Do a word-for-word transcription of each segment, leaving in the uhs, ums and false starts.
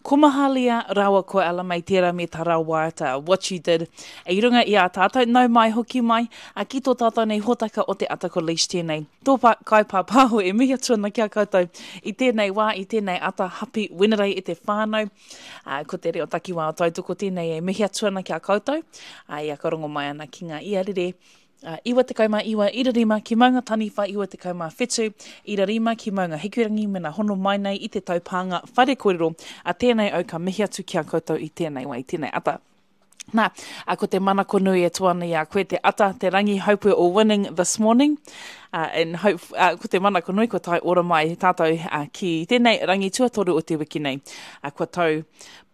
Ko Mahalia rāua ko Ella Mai tērā me tā rāua waiata What You Did i runga i a tātou, nau mai hoki mai a ki tō tātou nei hōtaka o te ata ko Leish tēnei. Tō pa, kai pāpāho e mihi atu ana ki a koutou i tēnei wā, i tēnei ata happy Wenerei e te whānau. Uh, ko te reo takiwā o tautoko tēnei e mihi atu ana ki a koutou. Uh, i a ka rongo mai ana ki ngā iarere Uh, iwa tekau mā iwa ira rima ki Maunga Taniwha, iwa tekau mā whitu ira rima ki Maunga Hikurangi mena hono mai nei i te taupānga whare kōrero a tēnei au ka mihi atu ki a koutou i tēnei wā, i tēnei ata. Nā, a ko te manako nui e toa ana i a koe te ata, te rangi, hope we're all winning this morning. Uh, and hope, uh, ko te manako nui kua tae ora mai tātou uh, ki tēnei rangi tuatoru o te wiki nei. Uh, kua tau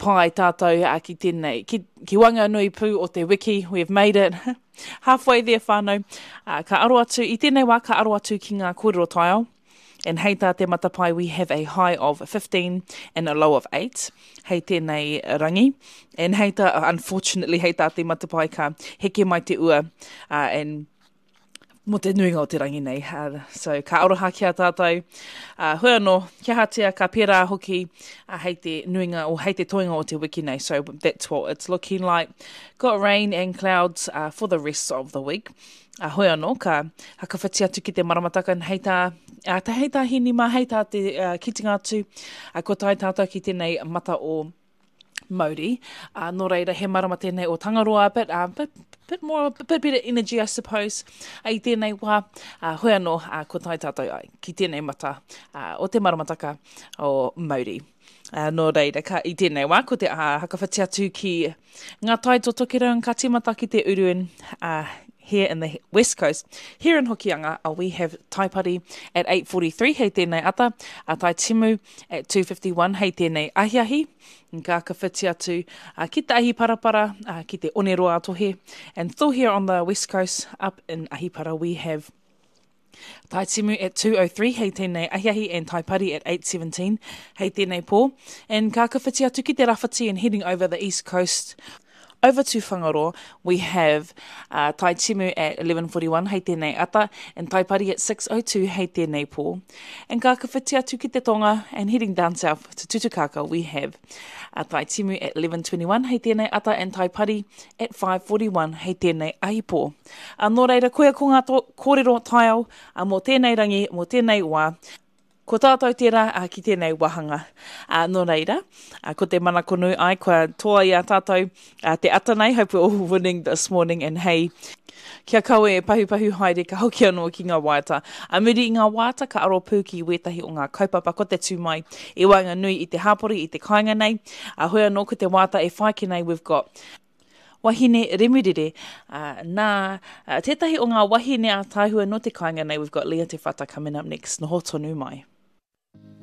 pai tātou uh, ki tēnei, ki, ki waenganui pū o te wiki, we've made it. Halfway there whānau. Uh, ka aro atu, i tēnei wā ka aro atu ki ngā kōrero taiao. And hei tā te matapae, we have a high of fifteen and a low of eight. Hei tēnei rangi. And hei tā, unfortunately, hei tā te matapae ka heke mai te ua. Uh, and mō te nuinga o te rangi nei. Uh, so ka aroha ki a tātou. Uh, hoi anō, kia hatea ka pērā hoki uh, hei te nuinga o hei te toenga o te wiki nei. So that's what it's looking like. Got rain and clouds uh, for the rest of the week. Uh, hoi anō, ka hakawhiti atu ki te maramataka hei tā, uh, tā hei tā hini mā, hei tā te uh, kitinga atu, uh, ko tae tātou ki tēnei mata o Mauri. Uh, nō reira, he marama tēnei o Tangaroa, but, uh, bit, bit more, a bit better energy, I suppose, uh, i tēnei wā. Uh, hoi anō, uh, ko tae tātou ai ki tēnei mata uh, o te maramataka o Mauri. Uh, nō reira, ka, i tēnei wā, ko te uh, hakawhiti atu ki ngā tai o Tokerau ka tīmata ki te uruen, uh, here in the West Coast. Here in Hokianga, uh, we have Taipari at eight forty-three, hei tēnei ata, a Tai Timu at two fifty-one, hei tēnei ahiahi. Ka whakawhiti atu, uh, ki te Ahiparapara, uh, ki te Oneroa Tohe. And still here on the West Coast, up in Ahipara, we have Tai Timu at two oh three, hei tēnei ahiahi, and Taipari at eight seventeen, hei tēnei pō. And ka whakawhiti atu ki te Rawhiti and heading over the East Coast, over to Whangaroa, we have, uh, Tai Timu at eleven forty-one, hei tēnei ata, and Taipari at six oh two, hei tēnei pō. And ka whakawhiti atu ki te Tonga, and heading down south to Tutukaka, we have, uh, Tai Timu at eleven twenty-one, hei tēnei ata, and Taipari at five forty-one, hei tēnei ahi pō. Uh, nō reira, koia ko ngā to-, kōrero taiao, uh, mō tēnei rangi, mō tēnei wā. Ko tātou tērā, uh, ki tēnei wāhanga. Uh, nō reira, uh, ko te manako nui ai, kua toa i a tātou, uh, te ata nei, hope we're all winning this morning, and hey, kia kawe e pahupahu haere, ka hoki anō ki ngā waiata. A muri i ngā waiata, ka aro pū ki wētahi o ngā kaupapa ko te tū mai i waenganui i te hāpori, i te kāinga nei. A hoi anō ko te waiata e whai ki nei, we've got Wahine Remurere, uh, nā, uh, tētahi o ngā wahine a tāhua no te kāinga nei, we've got Leah Te Whata coming up next. Noho tonu mai.